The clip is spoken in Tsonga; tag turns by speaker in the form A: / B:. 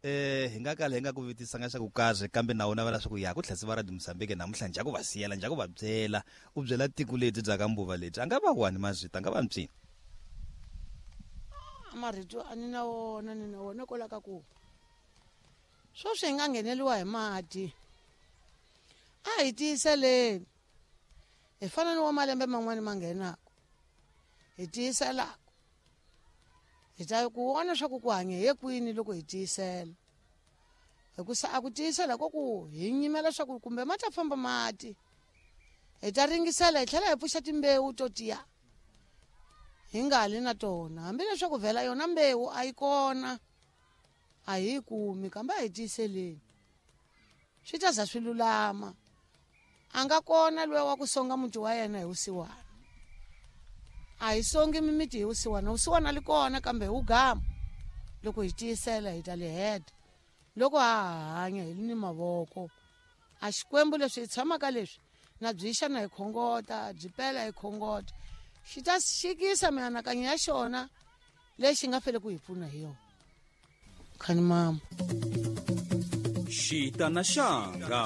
A: Hi nga kala hi nga ku vutisanga xa ku karhi, kambe na wona va leswaku ya ku tlhasi va Radio Mozambique namuntlha njha ku va siyela, njha ku va byela, u byela tiko lebyi bya ka mbuva lebyi. A nga va wani mazwita, a nga va mpyini.
B: Marito a ni na wona, ni na wona kwala ka ku sweswi hi nga ngheneliwa hi mati. A hi tiyiseleni. Hi fana ni wa malembe man'wani ma nghenaka. Hi tiyiselaka. Hi ta ku vona swa ku ku hanya hi ye kwini loko hi tiyisela. Hikusa a ku tiyisela ko ku hi nyimela swa ku kumbe ma ta famba mati. Hi ta ringisela hi tlhela hi pfuxa timbewu to tiya. Hi nga li na tona. Hambileswaku vhela yona mbewu a yi kona, a hi yi kumi, kambe a hi tiyiseleni. Swi ta za swi lulama. A nga kona luya wa ku songa muti wa yena hi vusiwana. A hi songi mimiti hi vusiwana. Vusiwana li kona kambe hi wugama. Loko hi tiyisela hi ta li heta. Loko ha ha hanya hi li ni mavoko. A Xikwembu leswi hi tshamaka leswi, na byi xana hi khongota, byi pela hi khongota. Xi ta xikisa mianakanyo ya xona lexi nga fele ku hi pfuna hi yona. Khani mama.
C: Xita na xanga.